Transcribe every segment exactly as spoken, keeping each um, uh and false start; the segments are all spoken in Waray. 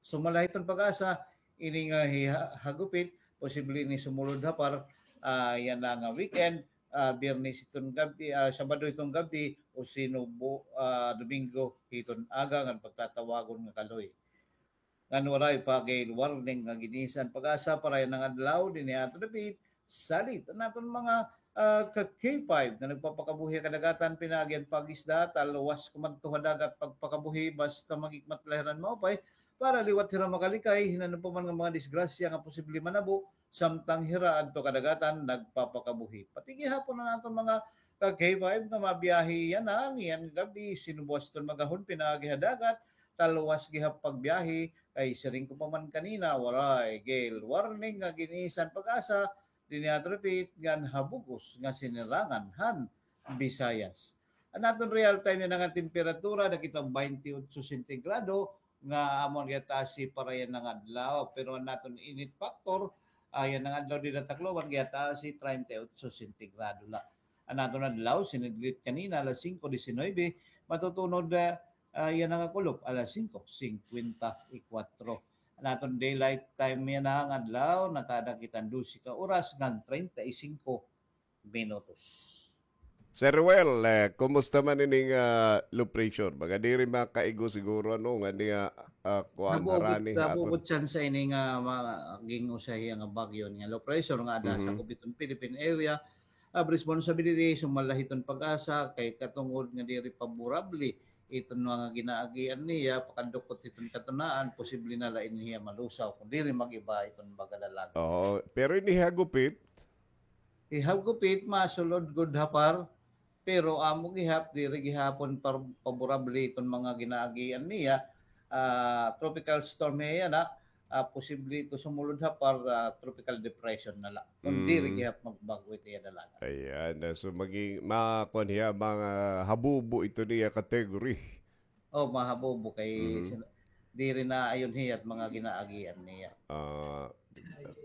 Sumala hiton PAGASA, ini nga hi-, ha-, hagupit, posible ini sumulod ha par, ah, yana nga weekend, ah, Biyernes iton gab-i, ah, Sabado iton gab-i, o sino bu-, ah, Domingo hiton aga ngan pagtatawagon nga kaloy. Ngan waray pa gale warning nga gin-isa an PAGASA para yana nga adlaw dinhi ha aton dapit, salit an aton mga, ah, ka K five nga nagpapakabuhi ha kadagatan pinaagi han pag-isda, talwas kumadto ha dagat pagpakabuhi basta maghikmat la hira hin maupay para liwat hira makalikay hin ano pa man nga mga disgrasya nga posible manabo samtang hira adto kadagatan nagpapakabuhi. Pati gihapon an aton mga ka K five nga mabiyahe yana niyan gab-i, sino buas iton mag-ahon pinaagi ha dagat, talwas gihap pagbiyahe, kay siring ko pa man kanina, waray gale warning nga gin-isa han PAGASA dinhi ha aton dapit ngan ha bug-os nga sinirangan han Visayas. An aton real time yana nga temperatura nakita baynte otso sentigrado nga amo gihataas para yana nga adlaw, pero an aton init factor, ah, yana nga adlaw dida ha Tacloban gihataas treinta y ocho sentigrado la. An aton adlaw sinidlit kanina alas singko disinuybe, matutunod, ah, ah, yana nga kulop alas singko singkwenta y kwatro. An aton daylight time yana nga adlaw nakada kita hin dose ka oras ngan treinta y singko minutos. Sir Ruel, eh, kumusta man ini nga low pressure? Baga diri makaigo siguro, ano, nga niya, ah, kuan harani ha aton. Nabugot, nabugot siya sa ini nga maging usa hiya nga bagyo nga low pressure nga ada sa Mhm. kubiton Philippine area. Ah, responsibility, sumala hiton PAGASA, kay katungod nga diri paborable iton mga ginaagian niya, pakadukot hiton katunaan, posible na la ini hiya malusaw, kung diri mag-iba iton baga dalagan. Oo, pero ini hagupit, Ihagupit, masulod gud ha par, pero amo gihap, diri gihapon par-, paborable iton mga ginaagian niya. Ah, tropical storm hiya na, ah, posible ito sumulod ha par, ah, tropical depression na la. Kung diri Mm. gihap magbag-o it iya dalagan. Ayan, ah, so maging, makuan hiya, mga habubo ito niya category. Oh, mahabubo kay Mhm. sin-, diri na ayon hiya it mga ginaagian niya. Ah,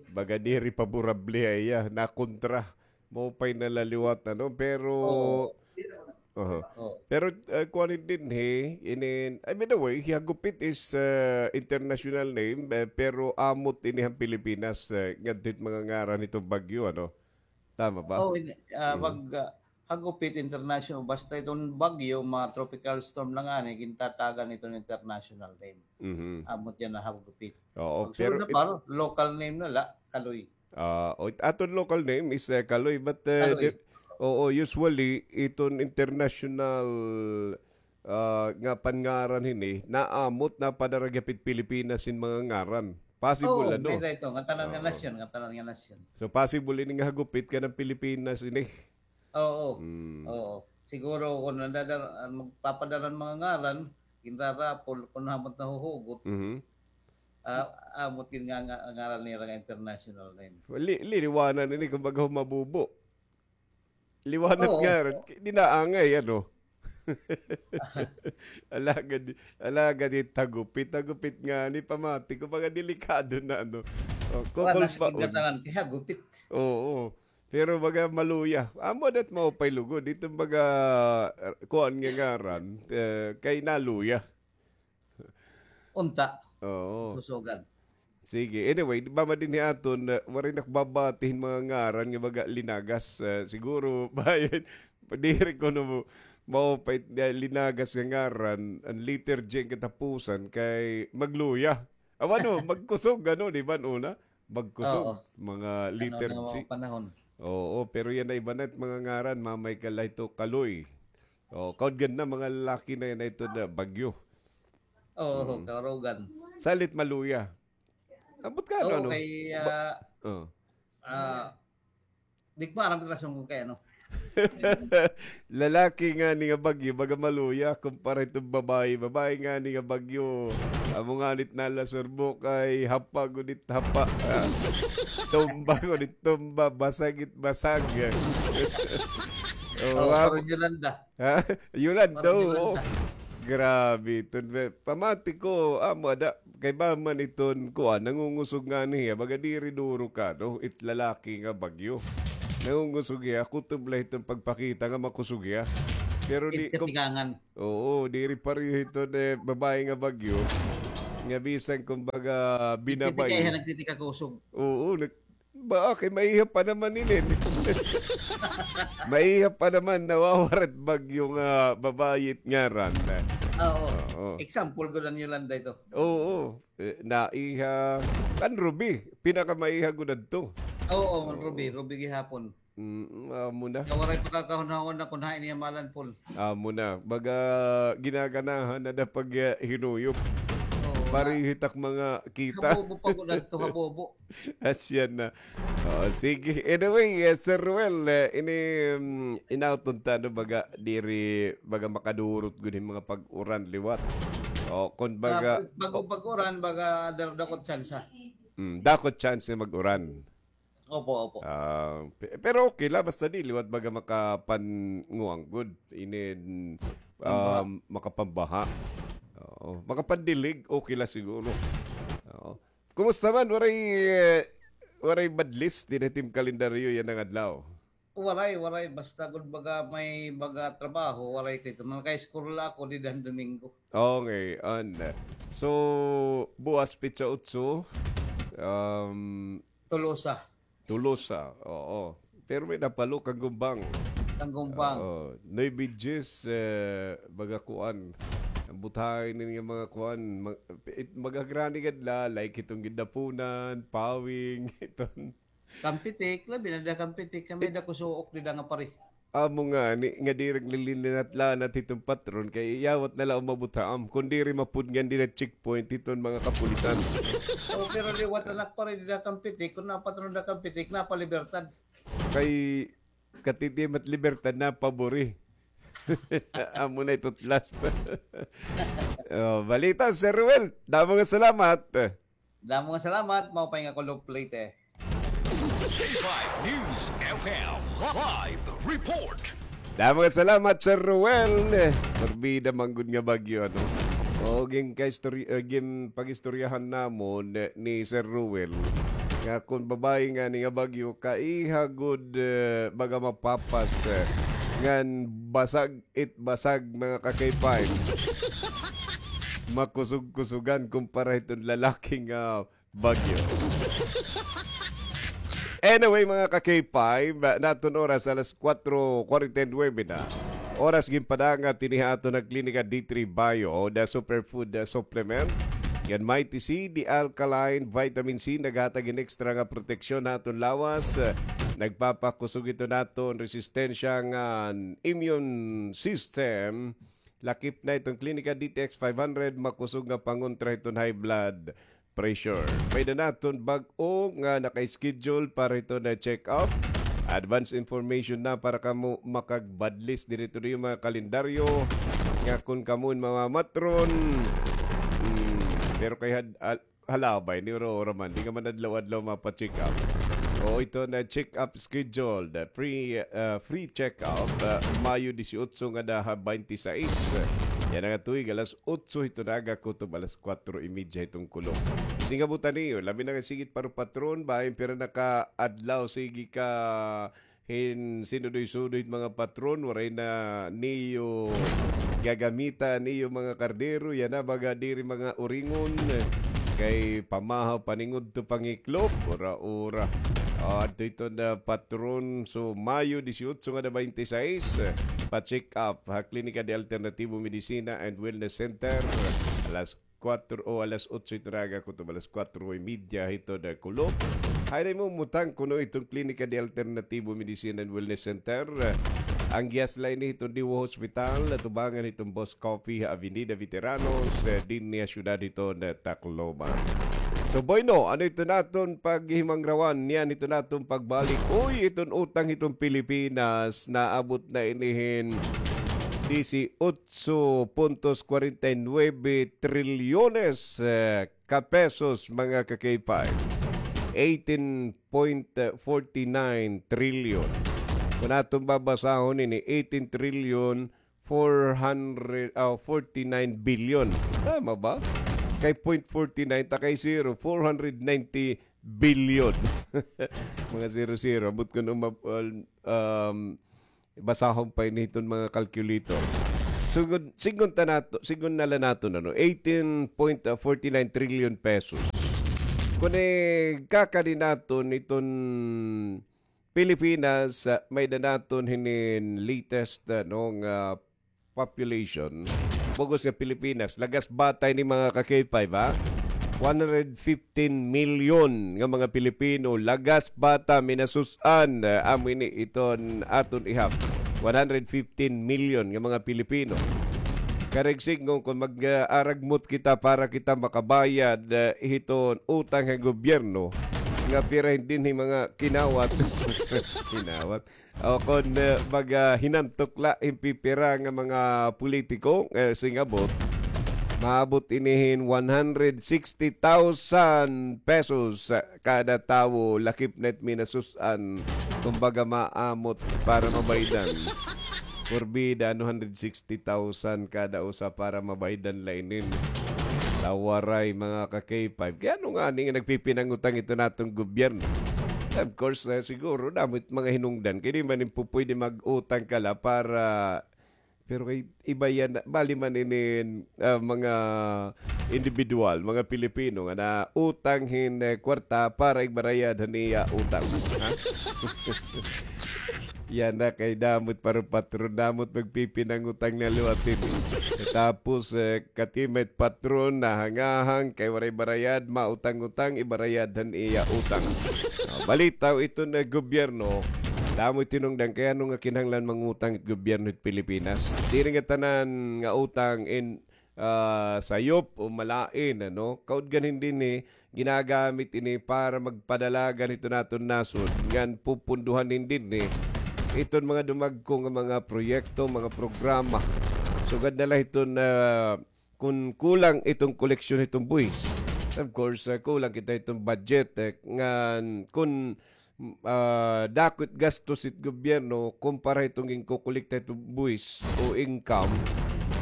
baga diri paborable ha iya, nakontra. Maupay na la liwat, ano, pero Oo. Aha. Oo. Pero, ah, kuan dinhi, inin, I mean, the way, hagupit is, ah, international name, eh, pero amot ini han Pilipinas, eh, ngadto it mga ngaran hiton bagyo, ano? Tama ba? Oh, ini, ah, Mm. pag, ah, hagupit international, basta iton bagyo, mga tropical storm na ngani, gintatagan iton international name. Mhm. Amot yana hagupit. Oo, pag pero sulod na it- par, local name na la, kaloy. Ah, o, it aton local name is, eh, kaloy, but, eh, Kaloy. di-, oo, usually, iton international, ah, nga panngaran hini, naamot, napadara gihap it Pilipinas hin mga ngaran. Possible, Oo, ano? May ito, nga tanan nga Oo. nasyon, nga tanan nga nasyon. So, possible ini nga hagupit kanan Pilipinas ini. Oo. Mm. Oo. Siguro kung nadadar-, ah, magpapadara hin mga ngaran, ginrarapol, kung hamot nahuhugot, Mhm. ah, amot gin nga, nga, ngaran nira nga international name. Li-, liliwanan ini, kumbaga, humabubo. Liwanag Oo. nga rin. Di na angay, ano? Alagad, alagad it hagupit. Hagupit ngani, pamati ko, baga delikado na, ano? Oh, Wala kukul sa ba, kidnatangan kay hagupit. Oo. Pero baga maluya. Amo dat maupay lugod. Ito baga, uh, kuan nga ngaran, eh, kay naluya. Unta. Oo. Susugan. Sige. Anyway, di ba, madinhi aton, uh, waray nakbabati hin mga ngaran nga baga linagas. Uh, siguro, bayad, diri kuno mo, maupay, uh, linagas nga ngaran, an letter G an katapusan kay magluya. Aw, ano, magkusog, ano, di ba, una? Magkusog, Oo. mga Ano letter na nga G. mga panahon? Oo, pero yana iba na it mga ngaran, mamay ka la ito, kaloy. Oh, kaudgan na, mga lalaki na yana ito na bagyo. Oo, Mm. kaurugan. Salit maluya. Ambot ka, ano, Oo, ano? kay, Ba-, ah, oh. ah, di ko maaram kung rason kung kay ano. Lalaki ngani nga bagyo, baga maluya, kumpara iton babayi. Babayi ngani nga bagyo, amo ngani it nalasurbo kay hapa gud it hapa. Ah, tumba gud it tumba, basag it basag. Oh, Oo, amo. Parang Yolanda. Ha? Yolanda, Parang oo. Yolanda. Grabe iton, be. Pamati ko, amo ada, kay ba man iton, kuan, nangungusog ngani hiya, baga diri duro ka, no? It lalaki nga bagyo. Nangungusog hiya, kutob la iton pagpakita nga makusog hiya. Pero di, It katikangan. Oo, diri pareho iton, eh, babayi nga bagyo. Nga bisan, kumbaga, binabay. Nagtitikaihan, nagtitikakusog. Oo, nag-, ba, okay, maiha pa naman inin. Maiha pa naman, nawawarat bagyo nga babayi it ngaran. Oo. Oo. Example gud an Yolanda ito. Oo. Eh, naiha, an Ruby, pinakamaiha gud adto. Oo, oo. Ruby, Ruby gihapon. Mm, amo na. Nga waray pakakahunahon na kun hain iya malanpol. Amo na. Baga ginaganahan na da pag, ah, hinuyop. Oo, pareho it ak mga kita. Habobo pa gud adto, habobo. Asya na. Oh, sige. Anyway, eh, Sir Ruel, eh, ini, mm, inauton ta, no, baga diri, baga makadurot gud hin mga pag-uran liwat. Oh, kun baga, ah, bago pag-uran, baga dar-, dako it tsansa. Mm, dako it tsansa mag-uran. Opo, opo. Ah, pe-, pero okay la, basta di liwat baga makapanguan gud. Inin, ah, makapambaha. Oo, makapandilig, okay la siguro. Oo. Kumusta man? Waray, eh, waray badlis dinhi it im kalendaryo yana nga adlaw? Waray, waray. Basta gud baga may baga trabaho, waray kay ito. Mga ka-school la ako dida han Domingo. Okay, an. So, buwas petsa otso, um, Tolosa. Tolosa, oo. Pero may napalo, Kanggumbang. Kanggumbang. Oo. Nuebe Diyes, eh, baga kuan. An buthay ini nga mga kuan, ma-, it-, magagrani gad la, like iton Gindapunan, Pawing, iton Campetic, labi na dida Campetic, kay may dako suok dida nga pari. Amo ngani, nga diri naglinlinat-lanat hiton patron, kay iyawat na la umabot ha am, kun diri mapudngan dida checkpoint hiton mga kapulisan. Oh, pero liwat na la pari dida Campetic, kun napatron dida Campetic, napa Libertad. Kay katitimat Libertad, napa Buri. Amo na ito last. Oh, balita, Sir Ruel. Damo nga salamat. Damo nga salamat, maupay nga Kulop Leyte. K five News F M live report. Damo nga salamat, Sir Ruel. Morbida man gud nga bagyo, ano? O, gin-, kaistorya-, eh, gin-, pag-istoryahan namon, eh, ni Sir Ruel nga kun babayi ngani nga bagyo, kaiha gud, eh, baga mapapas, eh, ngan basag it basag, mga ka-K five. Makusog-kusugan kumpara hiton lalaki nga bagyo. Anyway, mga ka-K five, naton oras alas kuwatro kuwarenta y nuwebe na. Oras ginpadangat dinhi ha aton nga Klinika D three Bio, the superfood, the supplement. Ngan Mighty C, the alkaline vitamin C, naghatag hin extra nga proteksyon ha aton lawas. Nagpapakusog ito naton resistensya ngan immune system. Lakip na iton Klinika D T X five hundred, makusog nga pangontra hiton high blood pressure. May-ada naton bag-o nga naka-schedule para hiton check-up. Advance information na para kamo makagbadlis diri to niyo mga kalendaryo nga kun kamo in mamamatron. Hmm, pero kay had-, al-, halabay ni ura-ura man, di ka man adlaw-adlaw mapa-check up. O, ito na check up scheduled. Free, ah, free check up, ah, Mayo disiotso ngada ha baynte sais. Yana nga tuig, alas otso hiton aga kutob alas kuwatro y media hiton kulop. Singabutan niyo, labi na nga sige it paropatron, bahin pira na ka adlaw sige ka hin sinudoy-sudoy it mga patron, waray na niyo gagamita niyo mga kardero, yana baga diri mga uringon, kay pamahaw, paningudto, pangiklop, ura-ura. O, adto iton patron, so Mayo disiotso ngada baynte sais, pa-check up ha Klinika de Alternativo Medicina and Wellness Center, alas kuwatro o alas otso hiton aga kutob alas kuwatro y media hiton kulop. Hain na imo umutang kuno hiton Klinika de Alternativo Medicine and Wellness Center. An gihas la ini hiton Diwa Hospital, tubangan hiton Boss Coffee ha Avenida Veteranos, eh, dinhi ha siyudad hiton Tacloban. So, bueno, ano iton aton paghimangrawan, niyan iton aton pagbalik. Uy, iton utang hiton Pilipinas, naabot na ini hin disiotso puntos kwarenta y nuebe trilyones, eh, ka pesos, mga ka-K five. Eighteen point forty nine trillion. Kun aton babasahon ini, eighteen trillion four hundred, ah, forty nine billion. Tama ba? Kay point forty nine, ta kay zero, four hundred ninety billion. Mga zero-zero. Abot kun umab-, um, basahon pa ini hiton mga calculator. Sigon, sigon ta nato, sigon na la naton, ano, eighteen point forty nine trillion pesos. Kun ikakadi naton iton Pilipinas, ah, may-ada naton hinin latest, ah, no, nga population. Bug-os nga Pilipinas, lagas bata ini, mga ka-K five, ha? One hundred fifteen million nga mga Pilipino, lagas bata, minasus-an, ah, amo ini iton aton ihap. One hundred fifteen million nga mga Pilipino. Karuyag sidngon kon mag-, ah, aragmot kita para kita makabayad, ah, hiton utang ha gobyerno, nga pira dinhi mga kinawat. Kinawat. O kon, ah, mag-, ah, hinantok la hin pipira nga mga politiko, eh, singabot, maabot ini hin one hundred sixty thousand pesos, ah, kada tawo, lakip na it minasus-an, kumbaga, maamot para mabaydan. Porbida, ano, hundred sixty thousand kada usa para mabaydan la inin. Tawaray, mga ka-K five. Kay ano ngani nga nagpipinangutang iton aton gobyerno? Of course, eh, siguro, damo it mga hinungdan. Kay di man ipupwede mag-utang ka la para Pero kay iba yana, bali man inin, ah, mga indibidwal, mga Pilipino nga nautang hin, eh, kwarta para igbarayad han iya utang. Ha? Yana kay damo it para patron, damo it magpipinangutang na liwat ini. Tapos, eh, katima it patron, nahangahang kay waray barayad, mautang-utang, ibarayad han iya utang. Ah, balitaw iton, eh, gobyerno, damo it hinungdan kay ano nga kinahanglan mangutang it gobyerno hit Pilipinas. Diri nga tanan nga utang in, ah, sayop o malain, ano? Kaudgan hin dinhi, ginagamit ini para magpadalagan hiton aton nasod, ngan pupunduhan hin dinhi iton mga dumagko nga mga proyekto, mga programa. Sugad na la hiton, ah, kun kulang iton koleksyon hiton buhis. Of course, ah, kulang kita hiton budget, eh, ngan kun ah, dako it gastos it gobyerno kumpara hiton ginkokolekta hiton buhis o income,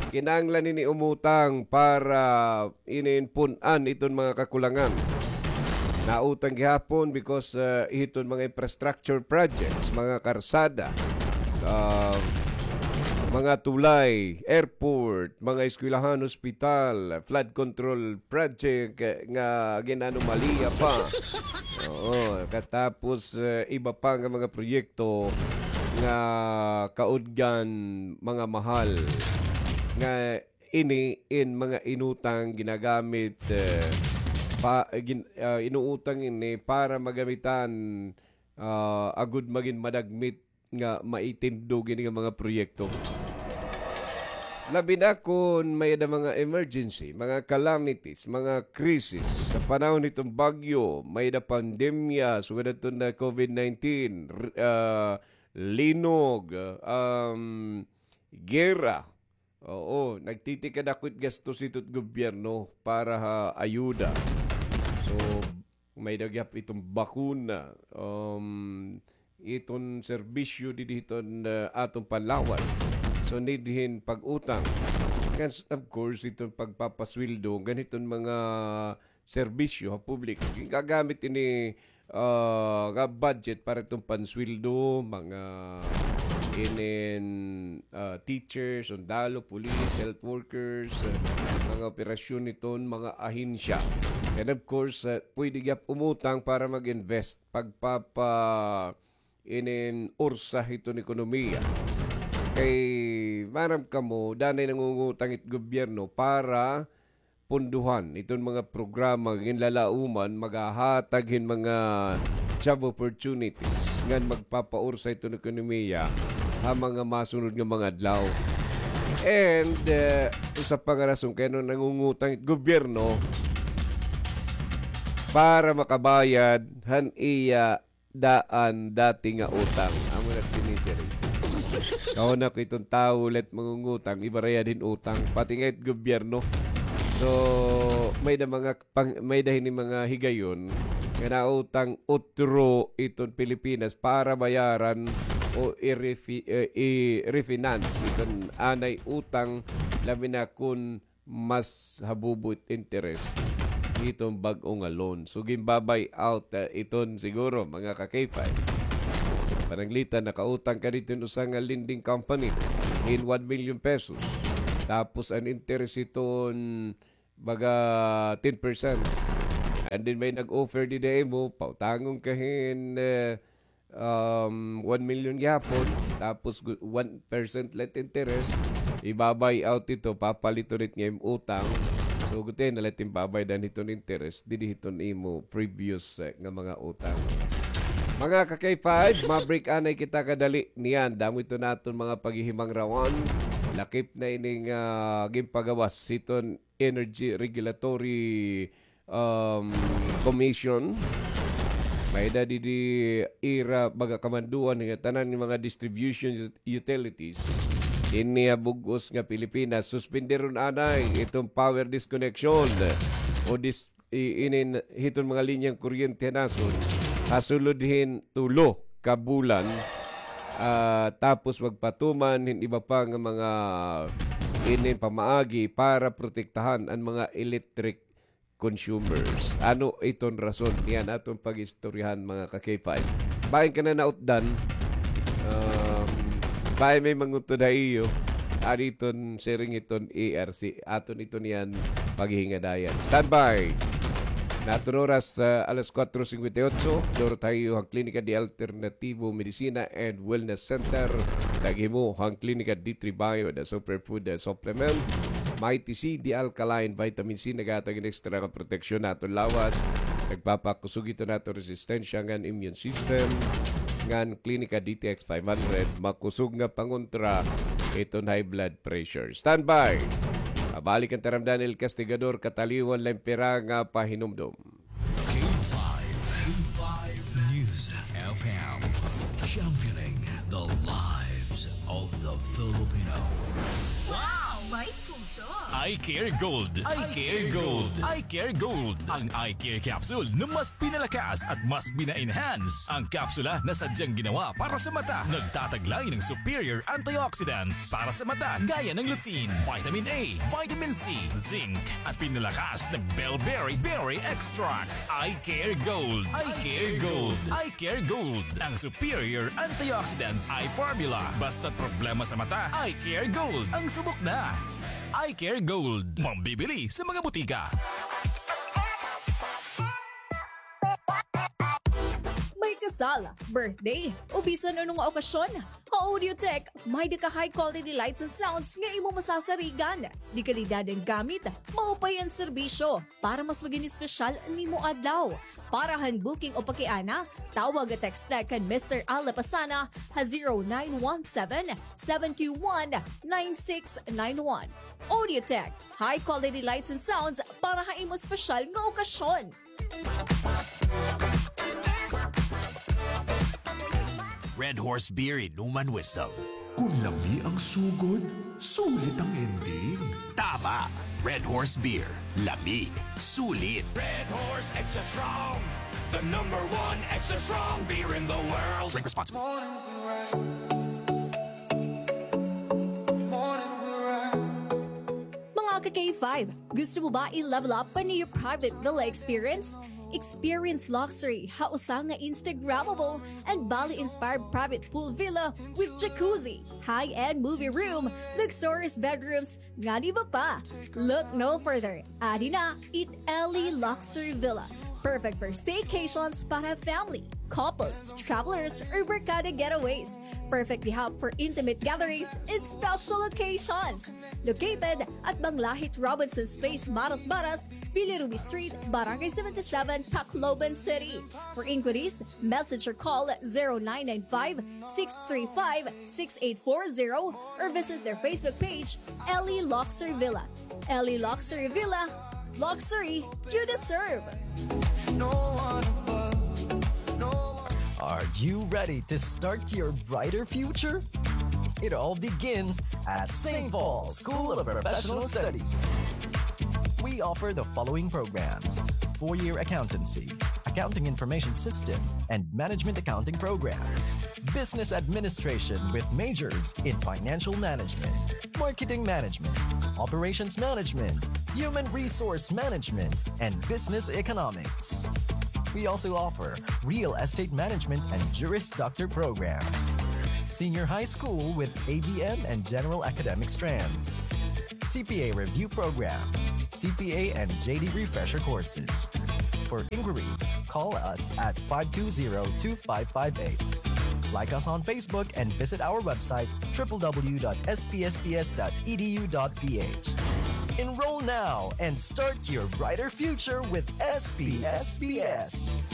kinahanglan ini umutang para inin pun-an iton mga kakulangan. Nautang gihapon because, ah, hiton mga infrastructure projects, mga karsada, ah, mga tulay, airport, mga eskwelahan, ospital, flood control project, eh, nga gin-anomalya pa. Oo, katapos, eh, iba pa nga mga proyekto nga kaudgan mga mahal. Nga ini in mga inutang ginagamit, eh, pa, gin-, ah, inuutang ini para magamitan, ah, agud magin madagmit nga maitindog ini nga mga proyekto. Labi na kon may-ada mga emergency, mga calamities, mga krisis sa panahon hiton bagyo, may-ada pandemya, sugad hiton na covid nineteen, r-, ah, linog, um, gera, Oo, nagtitikadako it gastos hiton gobyerno para ha ayuda. So, may-ada gihap iton bakuna, um, iton serbisyo didi hiton, ah, aton panlawas. So, need hin pag-utang. Ngan, of course, iton pagpapasweldo, ngan hiton mga serbisyo ha publiko. Gingagamit ini, ah, nga budget para iton pansweldo, mga inin, ah, teachers, sundalo, police, health workers, ah, mga operasyon iton mga ahensya. And of course, ah, pwede gihap umutang para mag-invest, pagpapa-, inin ursa hiton ekonomiya. Kay maaram kamo, danay nangungutang it gobyerno para punduhan iton mga programa nga ginlalauman, maghahatag hin mga job opportunities ngan magpapaursa iton ekonomiya ha mga masunod nga mga adlaw. And, eh, usa pa nga rason kay ano nangungutang it gobyerno para makabayad han iya daan dati nga utang. Amo na sini, sir. Kahuna ko iton tawo la it mangungutang, ibarayad hin utang, pati nga it gobyerno. So, may-ada mga pang-, may-ada hini mga higayon nga nautang utro iton Pilipinas para bayaran o i-refi-, eh, i-refinance iton anay utang, labi na kun mas habubo it interes hiton bag-o nga loan. So, ginba-buy out, ah, iton siguro, mga ka-K five. Pananglitan, nakautang ka didto hin usa nga lending company hin one million pesos. Tapos an interest hiton baga ten percent. And then may nag-offer dida ha imo, pautangon ka hin, eh, um, one million gihapon, tapos gu-, one percent la it interest, iba-buy out ito, papalit ulit nga im utang. So, gutiay na la it im babaydan hiton interest, didi hiton imo previous, eh, nga mga utang. Mga ka-K five, ma-break anay kita kadali niyan. Damo ito naton mga paghihimangrawan. Lakip na ining, ah, ginpagawas hiton Energy Regulatory, um, Commission. May-ada didi ira baga kamanduan nga tanan nga mga distribution ut-, utilities dinhi ha bug-os nga Pilipinas, suspenderon anay iton power disconnection o dis-, i-, inin hiton mga linyang kuryente ha nasod ha sulod hin tulo ka bulan. Ah, tapos magpatuman hin iba pa nga mga inin pamaagi para protektahan an mga electric consumers. Ano iton rason? Niyan aton pag-istoryahan, mga ka-K five. Bahin ka na nautdan. Um, bahin may mangutod ha iyo. Ano iton siring hiton E R C? Aton ito niyan paghingadayan. Standby! Naton oras, ah, alas kuwatro singkwenta y otso. Durot ha iyo han Klinika de Alternativo Medicina and Wellness Center. Tag-ihimo han Klinika D three Bio, the superfood, the supplement. Mighty C, the alkaline vitamin C, naghatag hin ekstra nga proteksyon ha aton lawas. Nagpapakusog ito han aton resistensya ngan immune system. Ngan Klinika D T X five hundred, makusog nga pangontra iton high blood pressure. Standby! Mabalik an taram Daniel Castigador, kataliwan la hin pira nga pahinumdom. K five, K five News F M, championing the lives of the Filipino. Wow! May puso! Eye Care Gold. Eye Care Gold. Eye Care Gold. Ang Eye Care Capsule na mas pinalakas at mas pina-enhance ang kapsula na sadyang ginawa para sa mata. Nagtataglay ng superior antioxidants para sa mata, gaya ng lutein, vitamin A, vitamin C, zinc, at pinalakas ng bellberry berry extract. Eye Care Gold. Eye Care Gold. Eye Care Gold. Ang superior antioxidants eye formula. Basta't problema sa mata, Eye Care Gold ang subok na. Eye Care Gold. Mabibili sa mga butika. May kasal, birthday, o bisan ano nga okasyon, ha Audiotech, may-ada ka high quality lights and sounds nga imo masasarigan. De-kalidad an gamit, maupay an serbisyo. Para mas magin espesyal an imo adlaw. Para han booking o pakiana, tawag o text na kan Mister Al Lapasana ha zero nine one seven, seven two one, nine six nine one. Audiotech, high quality lights and sounds para ha imo espesyal nga okasyon. Red Horse Beer, Inuman Wisdom. Kun lami ang sugod, sulit ang ending. Tama! Red Horse Beer. Lami. Sulit. Red Horse Extra Strong. The number one extra strong beer in the world. Drink responsibly. Mga ka-K five, gusto mo ba i-level up pa an iyo private villa experience? Experience luxury ha usa nga Instagrammable and Bali-inspired private pool villa with jacuzzi, high-end movie room, luxurious bedrooms, ngan iba pa. Look no further. Adi na it Ellie Luxury Villa. Perfect for staycations para family, couples, travelers, or barkada getaways. Perfect di hub for intimate gatherings and special occasions. Located at Banglahit Robinson's Place, Marasmaras, Villa Ruby Street, Barangay seventy-seven, Tacloban City. For inquiries, message or call zero nine nine five, six three five, six eight four zero or visit their Facebook page, Ellie Luxury Villa. Ellie Luxury Villa, luxury you deserve. Are you ready to start your brighter future? It all begins at Saint Paul's School of Professional Studies. We offer the following programs: four-year accountancy, accounting information system, and management accounting programs, business administration with majors in financial management, marketing management, operations management, human resource management, and business economics. We also offer real estate management and Juris Doctor programs, senior high school with A B M and general academic strands, C P A Review Program, C P A and J D Refresher Courses. For inquiries, call us at five two zero, two five five eight. Like us on Facebook and visit our website, triple W dot S P S P S dot E D U dot P H. Enroll now and start your brighter future with S P S P S.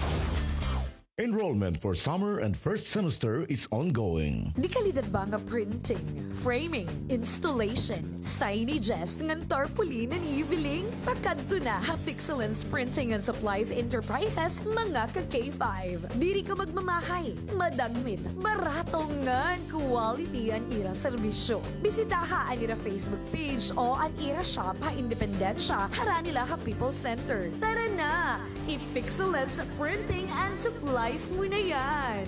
Enrollment for summer and first semester is ongoing. Dekalidad ba nga printing, framing, installation, signages, ngan tarpaulin an iyo biling? Pakadto na ha Pixelance Printing and Supplies Enterprises, mga ka K five. Diri ka magmamahay, madagmit, barato ngan quality an ira serbisyo. Bisitaha an ira Facebook page o an ira shop ha Independencia, harani la ha People's Center. Tara na! I-Pixelance Printing and Supplies mo na yan!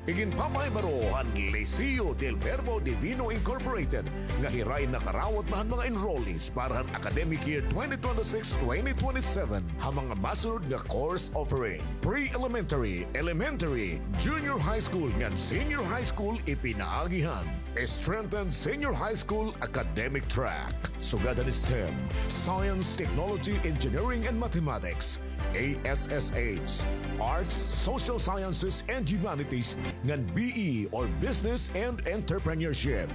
Iginpapahibaro han Liceo del Verbo Divino Incorporated nga hirain nakarawat na han mga enrollees para han academic year twenty twenty-six twenty twenty-seven ha mga masunod nga course offering: pre-elementary, elementary, junior high school ngan senior high school ipinaagi han Strengthen Senior High School Academic Track. Sugad han STEM, Science, Technology, Engineering, and Mathematics, A S S H, Arts, Social Sciences, and Humanities, ngan B E or Business and Entrepreneurship.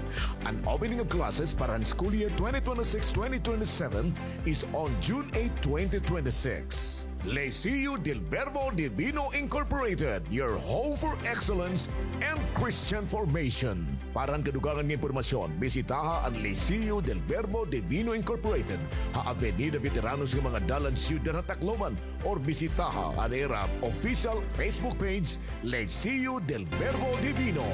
An opening of classes para han school year twenty twenty-six twenty twenty-seven is on June eight, twenty twenty-six. Liceo del Verbo Divino Incorporated, your home for excellence and Christian formation. Para han kadugangan nga impormasyon, bisitaha an Liceo del Verbo Divino Incorporated ha Avenida Veteranos nga mga dalan, Syudad ha Tacloban, or bisitaha an ira official Facebook page, Liceo del Verbo Divino.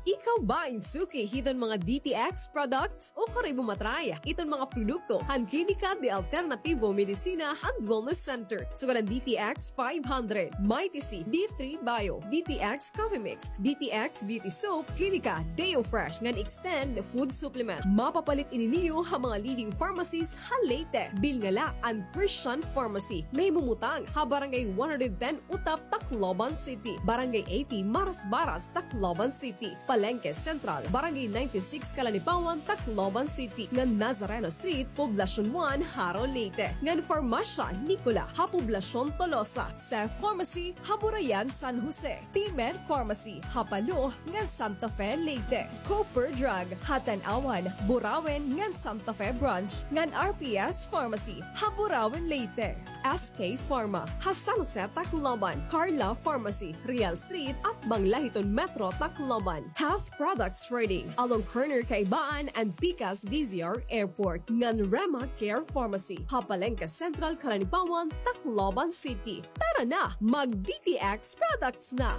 Ikaw ba in suki hiton mga D T X products? O kari mo ma-try iton mga produkto han Klinika de Alternativo Medicina and Wellness Center? Sugad an D T X five hundred, Mighty C, D three Bio, D T X Coffee Mix, D T X Beauty Soap, Klinika Deo Fresh ngan Extend Food Supplement. Mapapalit ini niyo ha mga leading pharmacies ha Leyte. Bilnga la an Christian Pharmacy, nahimumutang ha Barangay one hundred ten Utap, Tacloban City, Barangay eighty Marasbaras, Tacloban City, Palengke Central, Barangay ninety-six Calanipawan, Tacloban City, ngan Nazareno Street, Poblacion one, Jaro, Leyte, ngan Farmasya Nicola ha Poblacion Tolosa, Seth Pharmacy ha Burayan, San Jose, P-Med Pharmacy ha Palo ngan Santa Fe, Leyte, Cooper Drug ha Tanauan, Burauen ngan Santa Fe Branch, ngan R P S Pharmacy ha Burauen, Leyte. S K Pharma ha San Jose, Tacloban, Carla Pharmacy, Real Street, atbang la hiton Metro Tacloban. Health Products Trading, along corner Kaibaan and Pikas D Z R Airport, ngan Rema Care Pharmacy ha Palengke Central, Calanipawan, Tacloban City. Tara na, mag-D T X products na!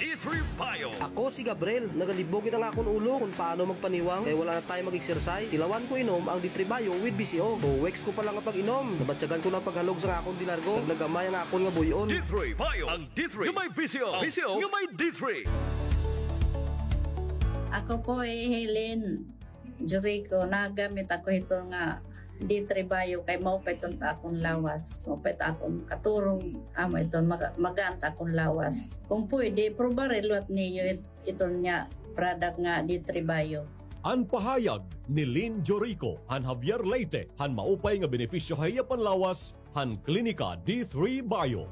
D three Bio. Ako si Gabriel. Nagalibog gud an akon ulo kon paano magpaniwang kay wala na tayo mag-exercise. Tilawan ko inom ang D three Bio with V C O. Two weeks ko pa lang nga pag-inom, nabatyagan ko na an paghalog sa akon delargo. Nagnagamay ang akon nga buy-on. D three Bio. Ang D three nga may V C O. V C O nga may D three. Ako po hi Helen Jurico, nagamit ako hito nga D three Bio kay maupay iton ta akon lawas, maupay ta akon katurog, amo iton maga-, magaan ta akon lawas. Kung pwede, probare liwat niyo it-, iton nga product nga D three Bio. An pahayag ni Lynn Jorico han Javier, Leyte, han maupay nga benepisyo ha iya panlawas han Klinika D three Bio.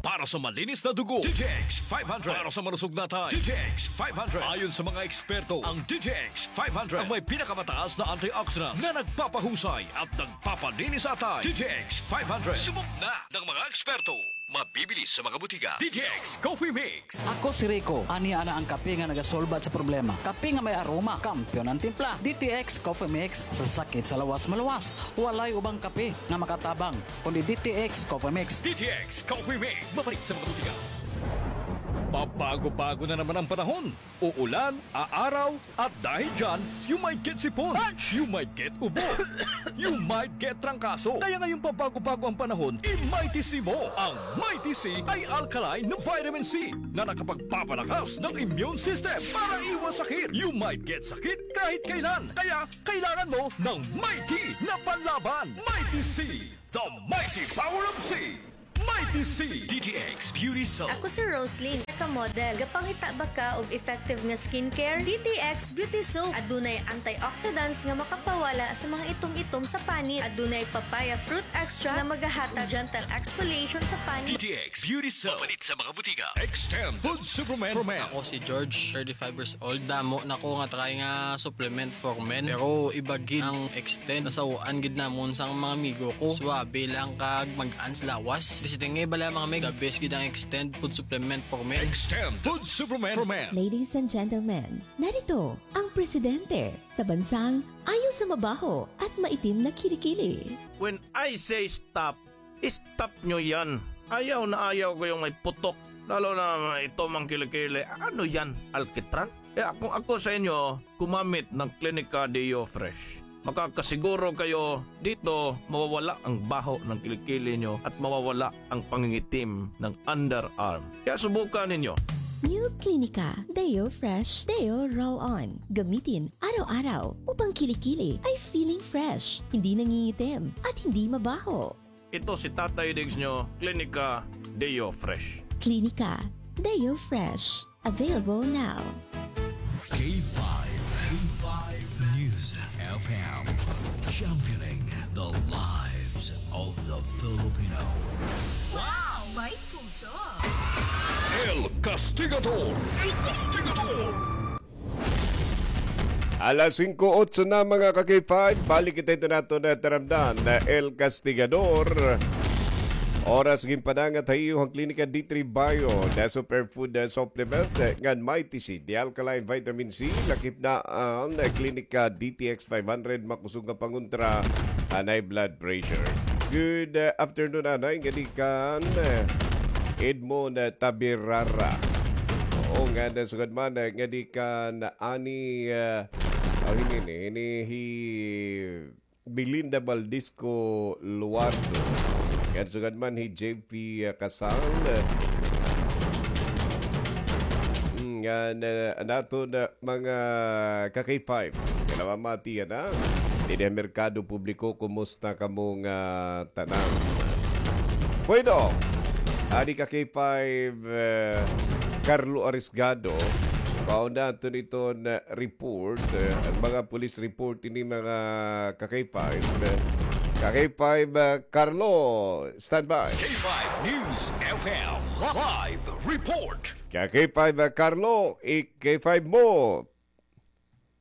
Para sa malinis na dugo, D T X five hundred. Para sa malusog na atay, D T X five hundred. Ayon sa mga eksperto, ang D T X five hundred ang may pinakamataas na antioxidants na nagpapahusay at nagpapalinis sa atay. D T X five hundred. Subok na ng mga eksperto. Mabibili sa mga butika. D T X Coffee Mix. Ako si Rico. Ania na an kape nga nagasolbat sa problema. Kape nga may aroma, kampiyon an timpla. D T X Coffee Mix, sa sakit sa lawas maluwas. Walay ubang kape nga makatabang kundi D T X Coffee Mix. D T X Coffee Mix. Mabalik sa mga butika. Pab- Bago-bago na naman ang panahon. Uulan, aaraw, at dahil dyan, you might get sipon, you might get ubo, you might get trangkaso. Kaya ngayong pabago-bago ang panahon, i-Mighty C mo. Ang Mighty C ay alkaline na vitamin C na nakapagpapalakas ng immune system para iwas sakit. You might get sakit kahit kailan. Kaya kailangan mo ng Mighty na panlaban. Mighty C, the mighty power of C. Mighty C. D T X Beauty Soap. Ako si Roslyn, isa ka model. Gapangita ba ka og effective nga skincare? D T X Beauty Soap. Adunay antioxidants nga makapawala sa mga itom-itom sa panit. Adunay papaya fruit extract nga magahatag gentle exfoliation sa panit. D T X Beauty Soap. Mapalit sa mga butika. Extend Food Supplement for Men. Ako si George, thirty-five years old. Damo na ko nga try nga supplement for men. Pero iba gid ang Extend. Nasaw-an gid namon sa mga amigo ko. Suwabe lang kag mag-ans lawas. Bisi tingay bala, mga mig. The best gid ang Extend food supplement for men. Extend food supplement for men. Ladies and gentlemen, narito ang presidente sa bansang ayaw sa mabaho at maitim na kilikili. When I say stop, stop nyo yan. Ayaw na ayaw ko yung may putok. Lalo na may itom ang kilikili. Ano yan? Alkitran? Kaya kung ako sa inyo, gumamit ng Clinica Deo Fresh. Makakasiguro kayo dito mawawala ang baho ng kilikili nyo at mawawala ang pangingitim ng underarm. Kaya subukan ninyo. New Clinica Deo Fresh Deo Roll On. Gamitin araw-araw upang kilikili ay feeling fresh, hindi nangingitim, at hindi mabaho. Ito si Tatay Diggs nyo, Clinica Deo Fresh. Clinica Deo Fresh. Available now. K five, K five News F M, championing the lives of the Filipino. Wow! May puso! El Castigador! El Castigador! Alas singko otso na, mga ka-K five. Balik kita ito nato na taramdan na El Castigador. Oras ginpanangat ha iyo han Klinika D three Bio na superfood, ah, supplement, eh, ngan Mighty C, the alkaline vitamin C, lakip na an, eh, Klinika D T X five hundred, makusog nga pangontra han high blood pressure. Good, ah, afternoon, anay, ngadi kan, eh, Edmond, eh, Tabirara. Oo, ngan sugad man, eh, ngadi kan Ani, eh, oh, hini, hini, hi Belinda Valdisco Luardo. Ngan sugad man hi J P, ah, Casal. Mm, ngan, ah, an aton, ah, mga ka-K five. Kinamamati yana. Didi ha merkado publiko, kumusta kamo nga tanan? Bueno, adi ka-K five, eh, Carlo Arisgado. Pauna aton iton, eh, report, eh, an mga police report ini, mga ka-K five. Eh, ka-K five, eh, Carlo, standby. K five News F M live report. Ka-K five, eh, Carlo, i-K five mo.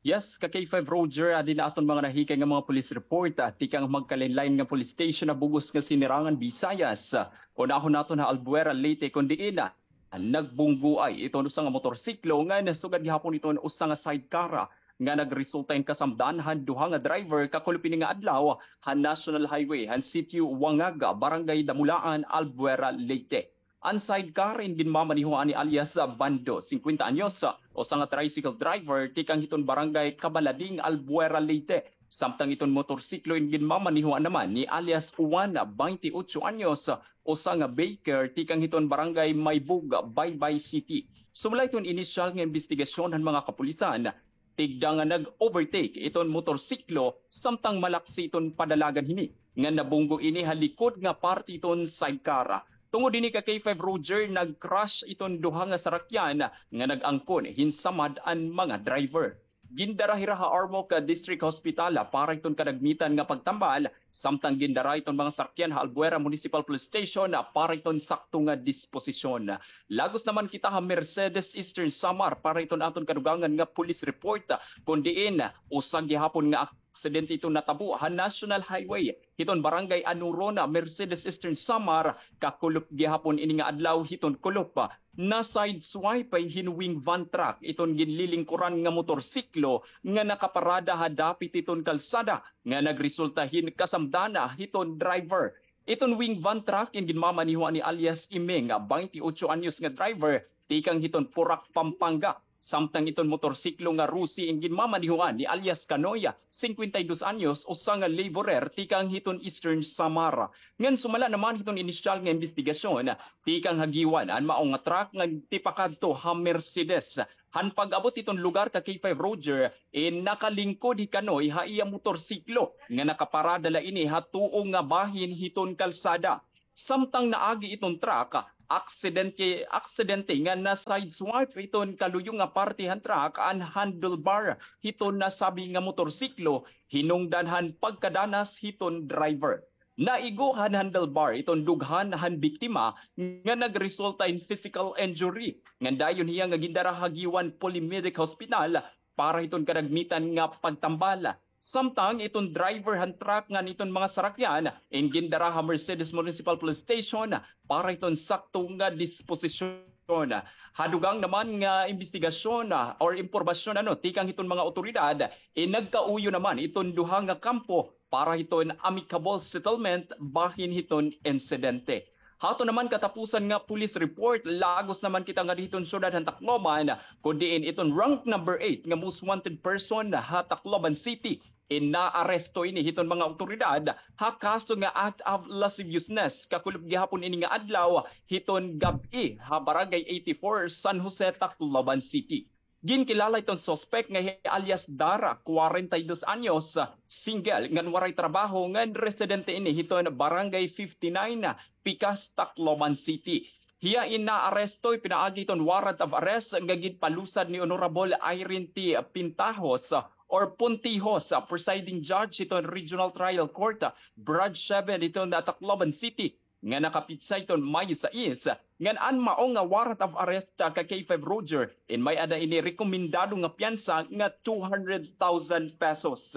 Yes, ka-K five Roger, adi na aton mga nahikay nga mga police report, ah, tikang magkalain-lain nga police station ha bug-os nga Sinirangan, Visayas. Ah, unahon naton ha Albuera, Leyte, kon diin, ah, nagbunggoay iton usa nga motorsiklo ngan sugad gihapon iton usa nga sidecar, ah, nga nagresulta hin kasamdan han duha nga driver kakulop ini nga adlaw han National Highway han Sitio Wangaga, Barangay Damulaan, Albuera, Leyte. An sidecar in ginmamanehoan ni alias Bando, singkwenta anyos, usa nga tricycle driver tikang hiton Barangay Cabalading, Albuera, Leyte. Samtang iton motorsiklo in ginmamanehoan naman ni alias Juan, baynte otso anyos, usa nga baker tikang hiton Barangay Maybug, Baybay City. Sumala hiton inisyal nga imbestigasyon han mga kapulisan, tigda nga nag-overtake iton motorsiklo samtang malaksi iton padalagan hini, nga nabunggo ini ha likod nga parte iton sidecar. Tungod hini, ka-K five Roger, nag-crash iton duha nga sarakyan nga nag-angkon hin samad an mga driver. Gindara hira ha Armoc District Hospital para iton kadagmitan nga pagtambal, samtang gindara iton mga sarakyan ha Albuera Municipal Police Station para iton sakto nga disposisyon. Lagos naman kita ha Mercedes, Eastern Samar, para iton aton kadugangan nga police report, kon diin usa gihapon nga aksidente iton natabo ha National Highway hiton Barangay Anuron, Mercedes, Eastern Samar, kakulop gihapon ini nga adlaw hiton kulop. Na-sideswipe hin wing van truck iton ginlilingkuran nga motorsiklo nga nakaparada ha dapit hiton kalsada, nga nagresulta hin kasamdan hiton driver. Iton wing van truck in ginmamanehoan ni alias Imeng, baynte otso anyos nga driver, tikang hiton Porac, Pampanga. Samtang iton motorsiklo nga Rusi in ginmamanehoan ni alias Kanoy, singkwenta y dos anyos, usa nga laborer tikang hiton Eastern Samar. Ngan sumala naman hiton inisyal nga imbestigasyon, tikang ha Guiuan an mao nga truck nga tipakadto ha Mercedes. Han pag-abot hiton lugar ka K five Roger, in nakalingkod hi Kanoy ha iya motorsiklo nga nakaparada la ini ha tuo nga bahin hiton kalsada. Samtang naagi iton truck, aksidente, aksidente nga na-sideswipe iton kaluyo nga parte han truck an handlebar hiton nasabi nga motorsiklo, hinungdan han pagkadanas hiton driver. Naigo han handlebar iton dughan han biktima nga nagresulta in physical injury. Ngan dayon hiya nga gindara ha Guiuan Poly-Medic Hospital para hiton kadagmitan nga pagtambal. Samtang iton driver han truck ngan iton mga sarakyan, in gindara ha Mercedes Municipal Police Station para hiton sakto nga disposisyon. Ha dugang naman nga imbestigasyon, ah, or impormasyon, ano, tikang hiton mga awtoridad, in nagkauyo naman iton duha nga kampo para hiton amicable settlement bahin hiton insidente. Hato naman katapusan nga police report, lagos naman kita nga hiton syudad han Tacloban, kun diin iton rank number eight nga most wanted person ha Tacloban City, in naaresto ini hiton mga awtoridad ha kaso nga act of lasciviousness, kakulop gihapon ini nga adlaw hiton gab-i ha Barangay eighty-four, San Jose, Tacloban City. Ginkilala iton suspek nga hi alias Dara, kwarenta y dos anyos, single, ngan waray trabaho, ngan residente ini hiton Barangay fifty-nine, Pikas, Tacloban City. Hiya in naaresto pinaagi hiton warrant of arrest nga ginpalusad ni Honorable Irene T. Pintajos or Puntijos, presiding judge hiton Regional Trial Court, Branch seven hiton Tacloban City, nga nakapitsa hiton Mayo sais, ngan an mao nga warrant of arrest ka K five Roger, in may-ada ini rekomendado nga piyansa nga two hundred thousand pesos.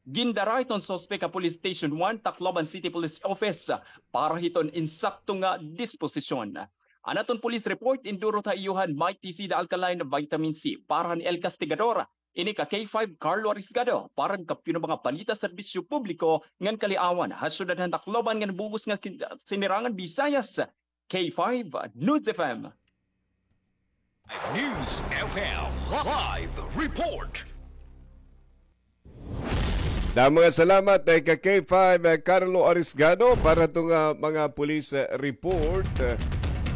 Gindara iton suspek ha Police Station one, Tacloban City Police Office, para hiton insakto nga disposisyon. An aton police report indurot ha iyo han Mighty C, The Alkaline Vitamin C, para han El Castigador, ini ka K five Carlo Arisgado, para han Kampiyon nga mga balita, serbisyo publiko ngan kaliawan ha syudad han Tacloban ngan bug-os nga kin-, sinirangan Visayas, K five News F M. News F M live report. Da, mga salamat, eh, ka K five, eh, Carlo Arisgado, para to nga mga police, eh, report. Eh,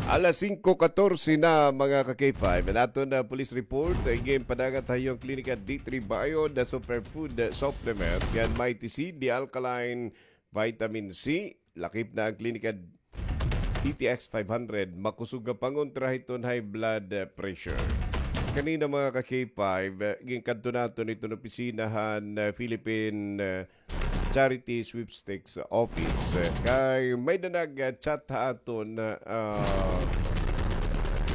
alas singko katorse na, mga ka K five. An aton, eh, police report, eh, ginpadagat ha iyo han Klinika D three Bio, the superfood, eh, supplement. Ngan Mighty C, the alkaline vitamin C. Lakip na an Klinika D T X five hundred, makusog nga pangontra hiton high blood, eh, pressure. Kanina, mga ka K five, eh, ginkadto naton iton opisina han, eh, Philippine, eh, Charity Sweepstakes Office. Eh, kay may-ada nag-chat ha aton, eh, ah,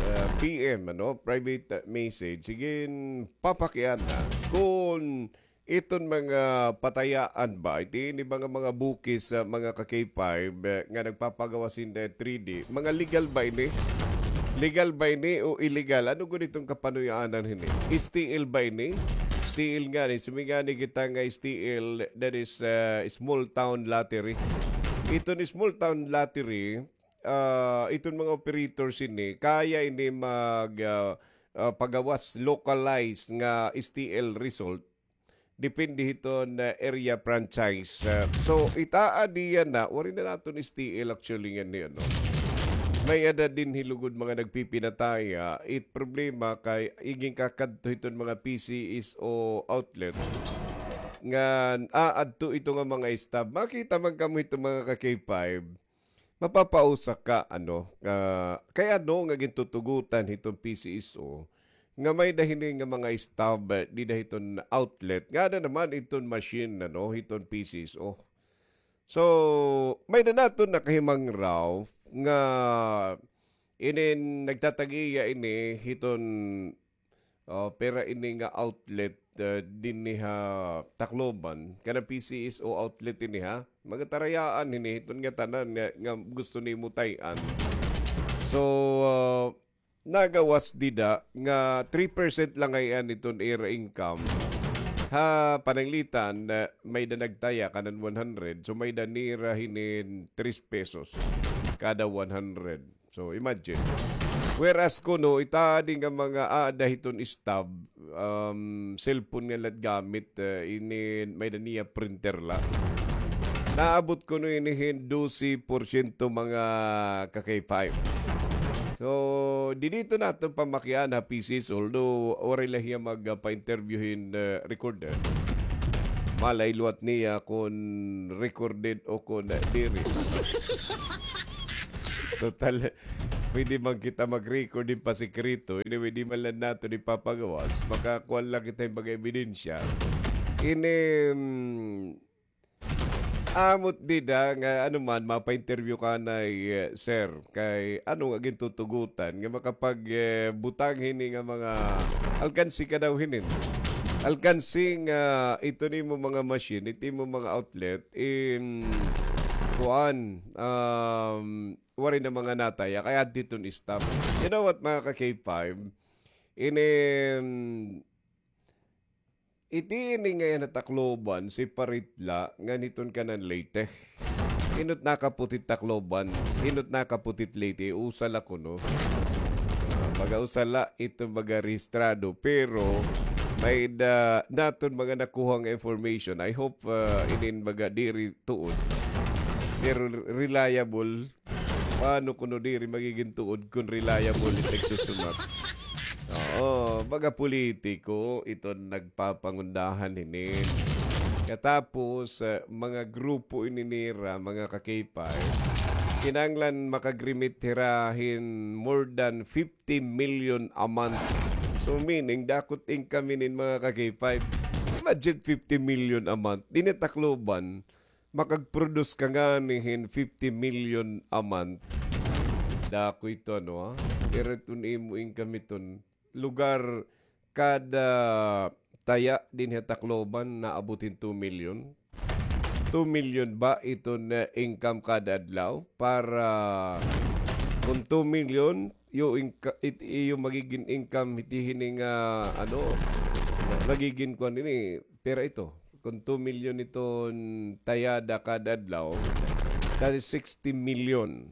eh, P M, ano, private, eh, message. Sige, papakiana kon iton mga patayaan ba, iti ini mga, mga bukis, ah, mga ka K five, eh, nga nagpapagawas hin, eh, three D. Mga legal ba ini? Legal ba ini o illegal? Ano gud iton kapanuyaanan hini? S T L ba ini? S T L ngani, sumingani kita nga S T L, that is, ah, small town lottery. Iton small town lottery, ah, iton mga operators ini, kaya ini mag, ah, ah, pagawas, localized nga S T L result. Depende hiton, ah, area franchise. Ah, so, itaad niya na, waray na naton S T L actually nganhi, ano. May-ada dinhi lugod mga nagpipinataya. It problema kay iginkakadto hiton mga P C S O outlet nga aadto ito nga mga staff. Makita man kamo ito, mga ka K five. Mapapausa ka, ano, ah, kay ano nga gintutugutan hiton P C S O nga may-ada hini nga mga stub, eh, dida hiton outlet, nga ada naman iton machine, ano, hiton P C S O. So, may-ada naton nakahimangraw nga inin nagtatag-iya ini hiton, oh, pira ini nga outlet, eh, dinhi ha Tacloban. Kana P C S O outlet ini, ha? Mga tarayaan hini, hiton ngatanan nga, nga gusto nimo tay-an. So, ah, nagawas dida nga three percent la ngay-an iton ira income. Ha pananglitan, ah, may-ada nagtaya kanan one hundred. So, may-ada nira hinin tres pesos kada one hundred. So, imagine. Whereas kuno, it adi nga mga aada hiton staff, um, cellphone nga la it gamit, ah, ini may-ada niya printer la. Naabot kuno ini hin dose porsyento, mga ka-K five. So, didi ito naton pamakiana ha P C S, although waray la hiya mag, ah, pa-interview hin, ah, recorder. Malay liwat niya kon recorded o kon, ah, diri. Total, pwede man kita mag-record hin pasikreto. Anyway, di man la naton ipapagawas. Makakuha la kita hin mga ebidensya. Ini, mm, amo it dida nga ano man, mapa-interview ka anay, eh, sir. Kay ano nga gintutugutan nga makapag, eh, butang hini nga mga alkansi ka daw hinin. Alkansi nga ito nimo mga machine, ito nimo mga outlet, in, kuan, um, waray na mga nataya, kay adto iton staff. You know what, mga ka-K five? Ini, iti ini nga yana Tacloban, separate la, ngan hiton kanan Leyte. Hin-o it nakaputi it Tacloban, hin-o it nakaputi it Leyte, usa la kuno. Ah, baga usa la iton mga rehistrado, pero may-ada naton mga nakuha nga information. I hope, ah, inin mga diri tuod. Pero reliable, paano kuno diri magigin tuod kon reliable it nagsusumat? Oo, mga politiko iton nagpapangundahan hinin. Katapos, ah, mga grupo ini nira, mga ka-K five, kinahanglan makag-remit hira hin more than fifty million a month. So, meaning, dako it income hinin, mga ka-K five. Imagine fifty million a month. Dinhi ha Tacloban, makag-produce ka ngani hin fifty million a month. Dako ito, ano, ha? Pero iton imo income iton lugar, kada taya dinhi ha Tacloban naabot hin two million. Two million ba iton, eh, income kada adlaw? Para kon two million, iyo inka-, it-, iyo magigin income hiti hini nga, ano, magigin kuan ini, pera ito. Kon two million iton tayada kada adlaw, that is sixty million.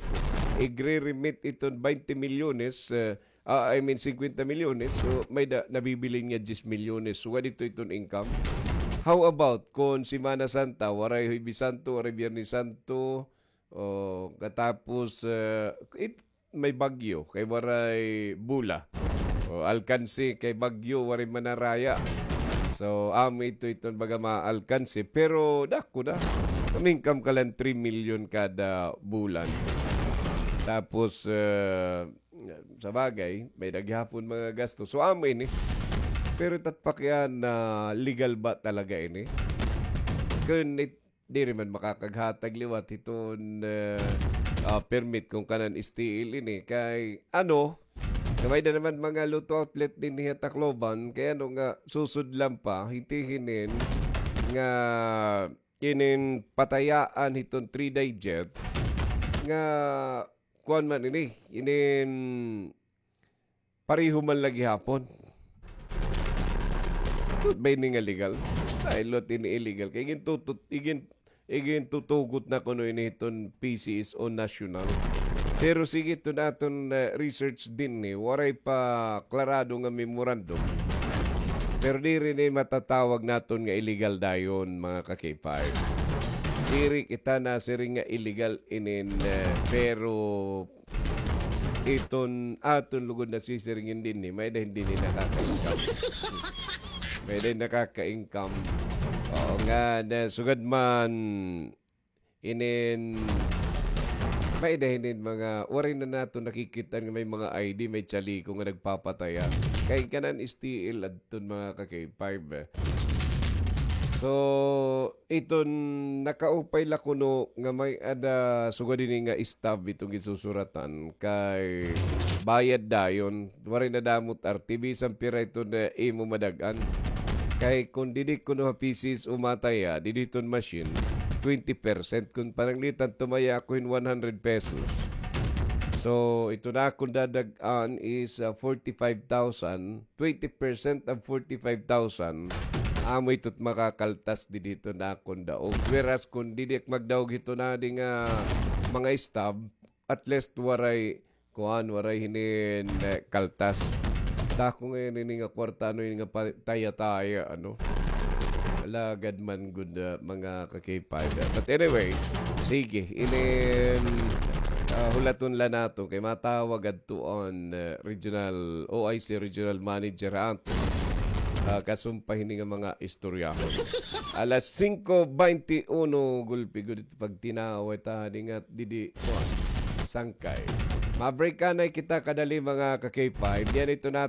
Igre-remit iton twenty milyones, eh, ah, I mean, singkwenta milyones. So, may-ada nabibilin nga diyes milyones. So, sugad ito iton income. How about kon Semana Santa, waray Huwebes Santo, waray Biyernes Santo, o katapos, eh, it-, may bagyo, kay waray bola. O, alkansi, kay bagyo, waray manaraya. So, amo ito iton baga mga alkansi. Pero, dako na. Mamingkam ka lang three million kada bulan. Tapos, eh, sa bagay, may-ada gihapon mga gasto. So, amo ini. Pero it at pakiana, legal ba talaga ini? Kun it-, diri man makakaghatag liwat hiton, eh, ah, permit kon kanan S T L ini. Kay, ano, nga may-ada naman mga lotto outlet dinhi ha Tacloban, kay ano nga susudlan pa, hiti hinin nga inin patayaan hiton three digit, nga kuan man ini, inin pareho man la gihapon. Tuod ba ini nga legal? Ay, liwat ini illegal. Kay igintutut-, igin-, igintutugot na kuno ini hiton P C S O National. Pero sige, iton aton, eh, research dinhi, waray pa klarado nga memorandum. Pero diri ini matatawag naton nga illegal dayon, mga ka-K five. Diri kita nasiring nga illegal inin, eh, pero iton aton lugod nasisiring dinhi, may-ada dinhi nakaka-income. May-ada nakaka-income. Oo nga, na sugad man inin, may-ada hinin mga, waray na naton nakikit-an nga may mga I D, may tsaliko nga nagpapataya. Kay kanan S T L adton, mga ka-K five, eh. So, iton nakaupay la kuno nga may-ada sugad hini nga stub iton ginsusuratan kay bayad dayon. Waray nadamo it R T, bisan pira iton imo madag-an. Kay kon didi kuno ha P C S O mataya, didi iton machine, twenty percent. Kon pananglitan tumaya ako hin one hundred pesos. So, iton akon dadag-an is, ah, forty-five thousand. Twenty percent of forty-five thousand, amo ito it makakaltas didi hito na akon daog. Whereas kun didi ak magdaog hito na di nga mga stab, at least waray kuan, waray hinin, eh, kaltas. Dako ngay-an ini nga kwarta, ano, ini nga pa-, taya-taya, ano. Alagad man gud, ah, mga ka-K five. But anyway, sige, inin, ah, hulaton la naton kay matawag adto an, ah, regional, O I C regional manager ha aton. Ah, kasumpay hini nga mga istorya. Alas singko baynte uno, gulpi gud it pagtinawa ta, di nga didi, kuan, sangkay. Ma-break anay kita kadali, mga ka-K five. Diyan ito na